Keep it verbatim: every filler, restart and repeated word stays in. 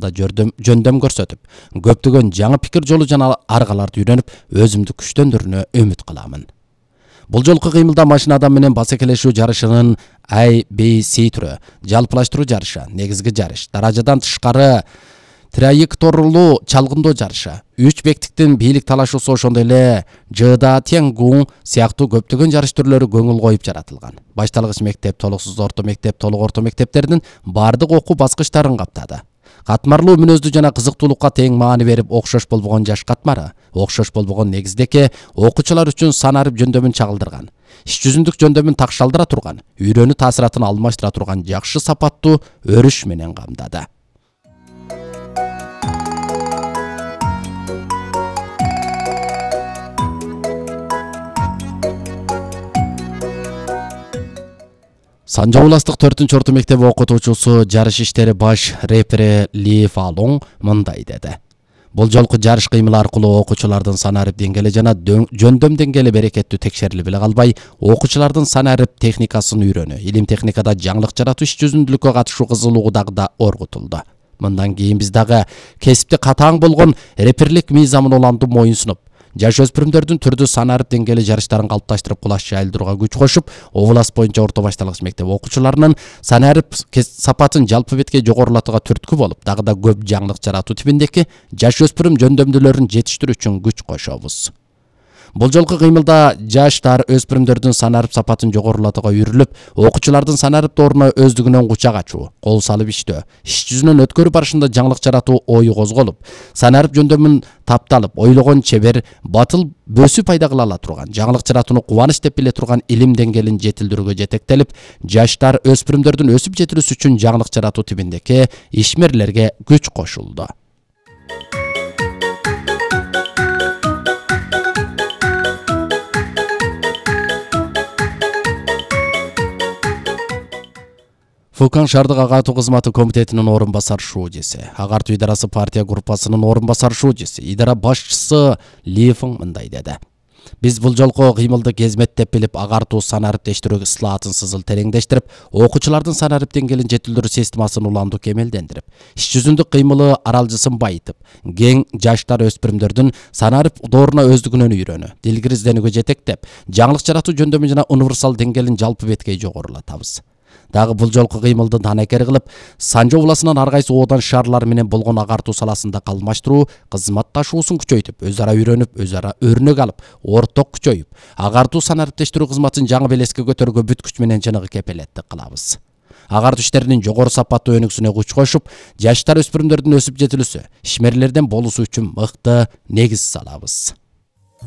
да жөндөм көрсөтүп, көптөгөн жаңы пикир жолу жана аргаларды үйрөнүп, өзүмдү күчтөндүрүүнө үмүт кыламын. Бул жолку кыймылда машина адам менен басекелешүү жарышынын A B C түрү, жалпылаштыруу жарышы, негизги жарыш, даражадан тышкары траекторулуу чалгындоо жарышы, үч бектиктин бийлик талашуусу, ошондой эле Жыда Тенгун сыяктуу көптөгөн жарыш түрлөрү көңүл коюп жаратылган. Башталгыч мектеп, толуксуз орто мектеп, толук орто мектептердин бардык окуу баскычтарын каптады. Катмарлуу мүнөздүү жана кызыктуулукка тең маани берип, окшош болбогон жаш катмары, окшош болбогон негиздеки окуучулар үчүн санарып жөндөмүн чагылдырган, иш жүзүндүк жөндөмүн такшалдыра турган, үйрөнүү таасиратын алмаштыра турган жакшы сапаттуу өрүш менен камдады. Санжа Уластык төртүнчү орто мектеби окутуучусу, жарыш иштери баш репери Ли Фалон мындай деди. Бул жолку жарыш кыймыл аркылуу окуучулардын санарып деңгээли жана жөндөм деңгээли берекеттүү текшерилип эле калбай, окуучулардын санарып техникасын үйрөнүү, илим техникада жаңылык жаратуу иш жүзүндүүлүккө катышуу кызыгуулугу дагы да оргутулду. Мындан кийин биз дагы кесипте катаң болгон реперлик мыйзамын улантуу моюн сунуп, жаш өспүрүмдөрдүн түрдүү санарып деңгээли жарыштарын калыпташтырып, кулаш жайылдырууга күч кошуп, область боюнча орто башталгыч мектеп окуучуларынын санарып сапатын жалпы бетке жогорулатууга түрткү болуп, дагы да көп жаңылык жаратуу типиндеги жаш өспүрүм жөндөмдүүлөрүн жетиштирүү үчүн күч кошобуз. Бул жолку кыймылда жаштар өспүрүмдөрдүн санарып сапатын жогорулатууга үйрүлүп, окуучулардын санарып дооруна өздүгүнөн кучак ачуу, кол салып иштөө, иш жүзүнөн өткөрүү барышында жаңылык жаратуу ою козголуп, санарып жөндөмүн тапталып, ойлогон чебер, батыл бөсү пайда кыла ала турган, жаңылык жаратууну кубаныч деп биле турган илим деңгээлин жетилдирүүгө жетектелип, жаштар өспүрүмдөрдүн өсүп жетилүүсү үчүн жаңылык жаратуу типиндеги ишмерлерге күч кошулду. Фукан шаардык агартуу кызматы комитетинин орун басар шуудиси, агартуу идарасы партия группасынын орун басар шуудиси, идара башчысы Ли Фың мындай деди. Биз бул жолку кыймылды кезмет деп билип, агартуу санарып тештирүү ыслаатын сызыл тереңдештирип, окуучулардын санарып деңгээлин жетилдирүү системасын уламдуу кемелдендирип, иш жүзүндүк кыймылы аралжысын байытып, кең жаштар өспүрүмдөрдүн санарып дооруна өздүгүнөн үйрөнүү, дилгир изденүүгө жетектеп, жаңылык жаратуу жөндөмү жана универсал деңгээлин жалпы бетке жогорулатабыз. Дагы бул жолку кыймылды данекер кылып, Санжа областынын ар кайсы оодан шаарлары менен болгон агартуу саласында калмаштыруу кызматташуусун күчөйтүп, өз ара үйрөнүп, өз ара өрнөк алып, орток күчөйүп, агартуу санарып тештирүү кызматын жаңы белеске көтөрүүгө бүт күч менен чыныгы кепилеттик кылабыз. Агартуу иштеринин жогору сапаттуу өнүксүнө күч кошуп, жаштар өспүрүмдөрдүн өсүп жетилүүсү, ишмерлерден болуусу үчүн мыкты негиз салабыз.